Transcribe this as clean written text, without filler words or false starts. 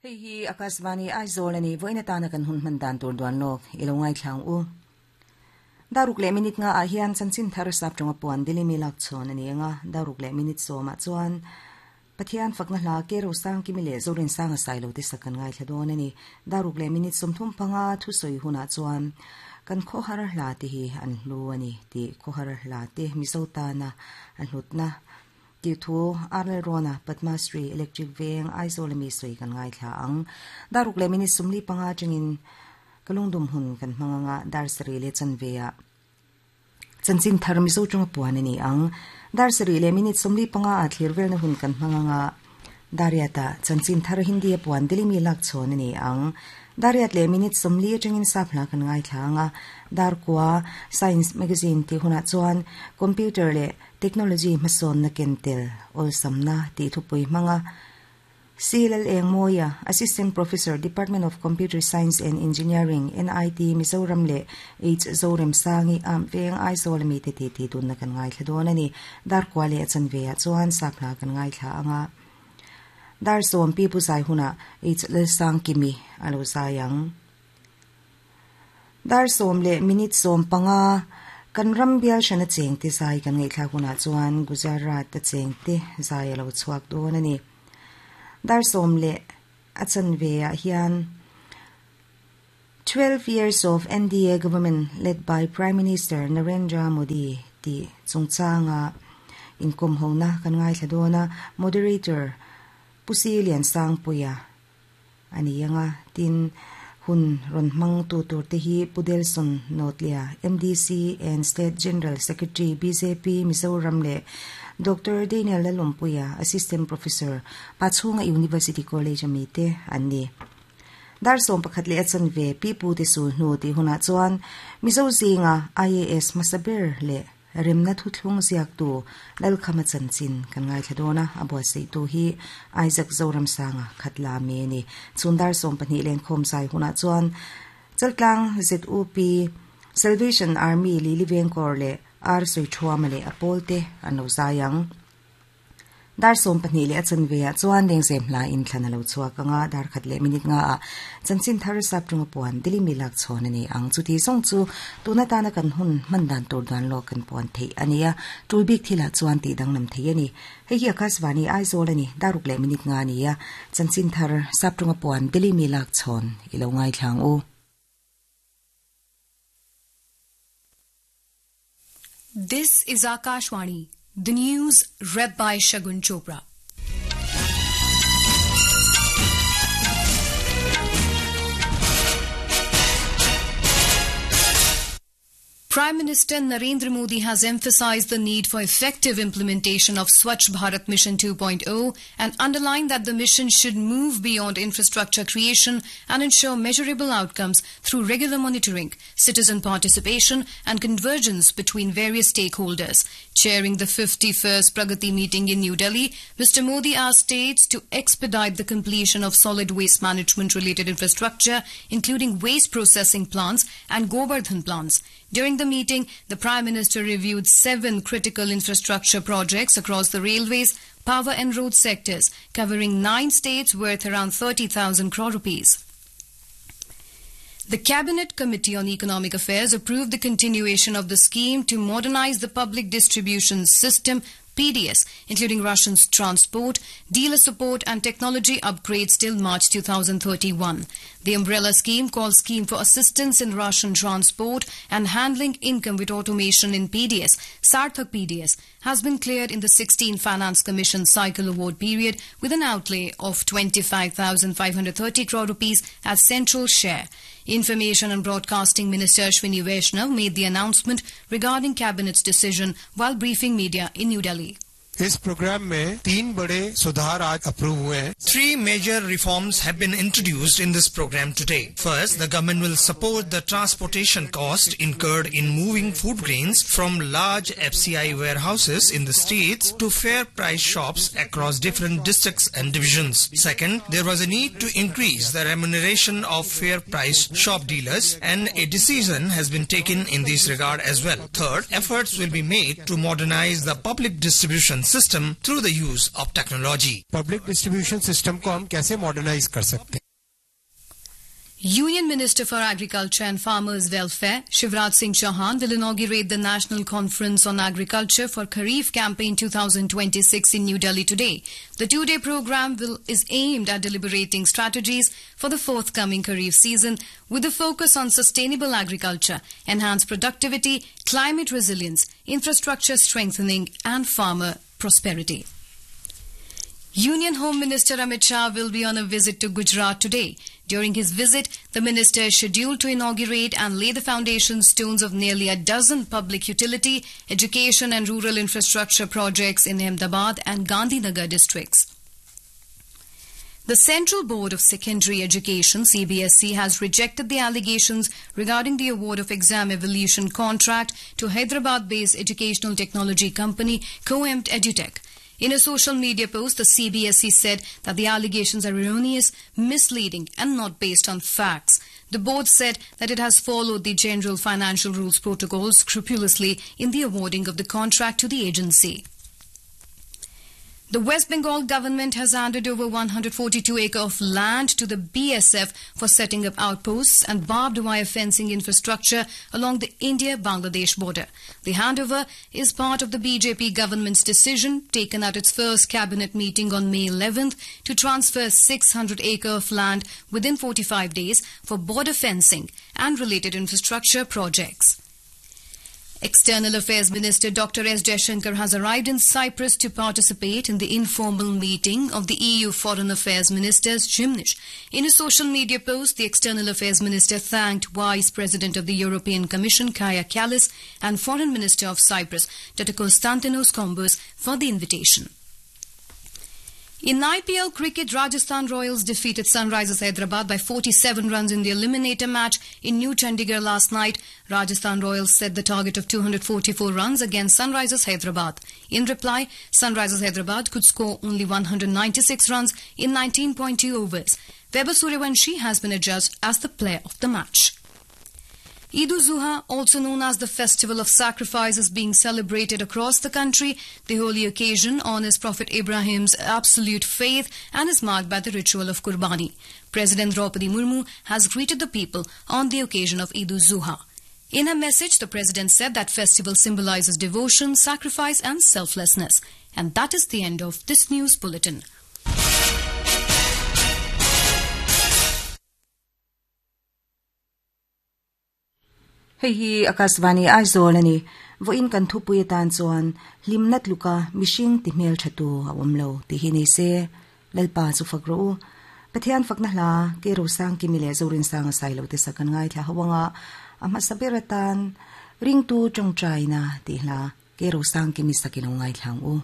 Hei hi Akashvani Aizawl a ni, vawiin atana kan hun hman dan tur duan lawk i lo ngaithla ang u. Daruk leh minute nga ah hian chanchin thar sap tawnga puan Delhi mi lak chhawn a ni ang a, daruk leh minute sawmah chuan Pathian fakna hla ke Rosangkimi leh Zorinsanga Sailo te sak kan ngaithla dawn a ni. Daruk leh minute 35 thusawi hunah chuan kan khawhar hla te hi an hlu a ni tih khawhar hla te Mizo tana a hlutna tih thu Arnold Rona Padma Shri Electric Veng Aizawl ami sawi kan ngaithla ang. Daruk leh minute 45 atangin ka lungdum hun kan hmang anga dar sarih leh chanve ah Chanchin thar Mizo tawnga puan a ni ang. Dar sarih leh minute 45 ah thlir velna hun kan hmang anga Dariat ah chanchin thar Hindi a puan Delhi mi lak chhawn a ni ang. Dariat leh minute 40 atangin sap hla kan ngaithla anga Dar kua Science Magazine tih hunah chuan Computer leh Technology hmasawnna ken tel awlsamna tih thupui hmanga C. Lal Eng Mawia, Assistant Professor, Department of Computer Science and Engineering, NIT, Mizoram leh H. Zorem Sangi, Am Veng, Aizawl ami te titi dunna kan ngaithla dawn a ni. Dar kua leh a chanve ah chuan sap hla kan ngaithla anga dar sawm pi pu zai hunah H. Lalsangkimi a lo zai ang. Dar sawm leh minute 15 kan ram bial hrana cheng te zai kan ngaihthlak hunah chuan Gujarat a cheng te zai a lo chhuak dawn a ni. Dar sawm leh a chanve ah hian 12 years of NDA government led by Prime Minister Narendra Modi tih chungchanga inkom hona kan ngaithla dawn a moderator Pusi Liansangpuia ani anga tin hun rawn hmang tu tur te hi Pu Delson Notlia MDC and State General Secretary BJP Mizoram leh Dr. Daniel Lalawmpuia Assistant Professor Pachhunga University College ami te an ni. Dar sawm pakhat leh a chanve pi pu te sul hnu tih hunah chuan Mizo zinga IAS hmasa ber leh remna thuthlung ziak tu Lalkhama chanchin kan ngaithla dawn a, a buatsaih tu hi Isaac Zoramsanga khatla mi a ni. Chhun dar 12 len khawm zai hunah chuan Chaltlang ZUP Salvation Army Lili Vengkawr leh R Sawiṭhuama leh a pawl te an lo zai ang. Dar 12 leh a chanve ah chuan lengzem hla in thlan a lo chhuak anga dar khat leh minute nga ah chanchin thar sap tawnga puan Delhi mi lak chhawn a ni ang. Chuti zawng chu tuna tana kan hun hman dan tur duan lawk kan puan theih a ni a, tul bik thilah chuan tih danglam thei a ni. Hei hi Akashvani Aizawl a ni, daruk leh minute nga a ni a, chanchin thar sap tawnga puan Delhi mi lak chhawn i lo ngaithla ang u. This is Akashvani, the news read by Shagun Chopra. Prime Minister Narendra Modi has emphasized the need for effective implementation of Swachh Bharat Mission 2.0 and underlined that the mission should move beyond infrastructure creation and ensure measurable outcomes through regular monitoring, citizen participation and convergence between various stakeholders. Chairing the 51st Pragati meeting in New Delhi, Mr. Modi asked states to expedite the completion of solid waste management related infrastructure, including waste processing plants and Govardhan plants. During the meeting, the Prime Minister reviewed 7 critical infrastructure projects across the railways, power and road sectors, covering 9 states worth around 30,000 crore rupees. The Cabinet Committee on Economic Affairs approved the continuation of the scheme to modernize the public distribution system PDS, including Russian's transport, dealer support and technology upgrades till March 2031. The umbrella scheme, called Scheme for Assistance in Russian Transport and Handling Income with Automation in PDS, Sarthak PDS, has been cleared in the 16th Finance Commission cycle award period with an outlay of 25,530 crore rupees as central share. Information and Broadcasting Minister Ashwini Vaishnav made the announcement regarding Cabinet's decision while briefing media in New Delhi. इस programme में तीन बड़े सुधार आज approve हुए हैं। 3 major reforms have been introduced in this program today. First, the government will support the transportation cost incurred in moving food grains from large FCI warehouses in the states to fair price shops across different districts and divisions. Second, there was a need to increase the remuneration of fair price shop dealers, and a decision has been taken in this regard as well. Third, efforts will be made to modernize the public distribution system through the use of technology. Public distribution system को हम कैसे मॉडर्नाइज कर सकते हैं Union Minister for Agriculture and Farmers Welfare, Shivraj Singh Chauhan, will inaugurate the National Conference on Agriculture for Kharif Campaign 2026 in New Delhi today. The two-day program will, is aimed at deliberating strategies for the forthcoming Kharif season with a focus on sustainable agriculture, enhanced productivity, climate resilience, infrastructure strengthening and farmer prosperity. Union Home Minister Amit Shah will be on a visit to Gujarat today. During his visit, the minister is scheduled to inaugurate and lay the foundation stones of nearly a dozen public utility, education and rural infrastructure projects in Ahmedabad and Gandhinagar districts. The Central Board of Secondary Education CBSE has rejected the allegations regarding the award of exam evolution contract to Hyderabad-based educational technology company Coempt Edutech. In a social media post, the CBSE said that the allegations are erroneous, misleading and not based on facts. The board said that it has followed the general financial rules protocol scrupulously in the awarding of the contract to the agency. The West Bengal government has handed over 142 acre of land to the BSF for setting up outposts and barbed wire fencing infrastructure along the India-Bangladesh border. The handover is part of the BJP government's decision taken at its first cabinet meeting on May 11th to transfer 600 acre of land within 45 days for border fencing and related infrastructure projects. External Affairs Minister Dr. S. Jaishankar has arrived in Cyprus to participate in the informal meeting of the EU Foreign Affairs Ministers, Gymnich. In a social media post, the External Affairs Minister thanked Vice President of the European Commission, Kaya Kallas, and Foreign Minister of Cyprus, Dr. Konstantinos Kombos, for the invitation. In IPL cricket, Rajasthan Royals defeated Sunrisers Hyderabad by 47 runs in the eliminator match in New Chandigarh last night. Rajasthan Royals set the target of 244 runs against Sunrisers Hyderabad. In reply, Sunrisers Hyderabad could score only 196 runs in 19.2 overs. Weber Suryavanshi has been adjudged as the player of the match. Eid ul-Zuha, also known as the Festival of Sacrifice, is being celebrated across the country. The holy occasion honors Prophet Ibrahim's absolute faith and is marked by the ritual of Qurbani. President Draupadi Murmu has greeted the people on the occasion of Eid ul-Zuha. In her message, the president said that festival symbolizes devotion, sacrifice and selflessness. And that is the end of this news bulletin. Hei hi Akashvani Aizawl a ni. Vawiin kan thupui atan chuan hlimna tluka mihring ti hmel tha tu a awm lo tih hi ni se. Lalpa chu fak rawh u. Pathian fakna hla ke Rosang Kimi leh Zorinsanga Sailo te sak an ngaithla ho anga a hmasa ber atan ringtu tawngtaina tih hla ke Rosang Kimi sak i lo ngaithla ang u.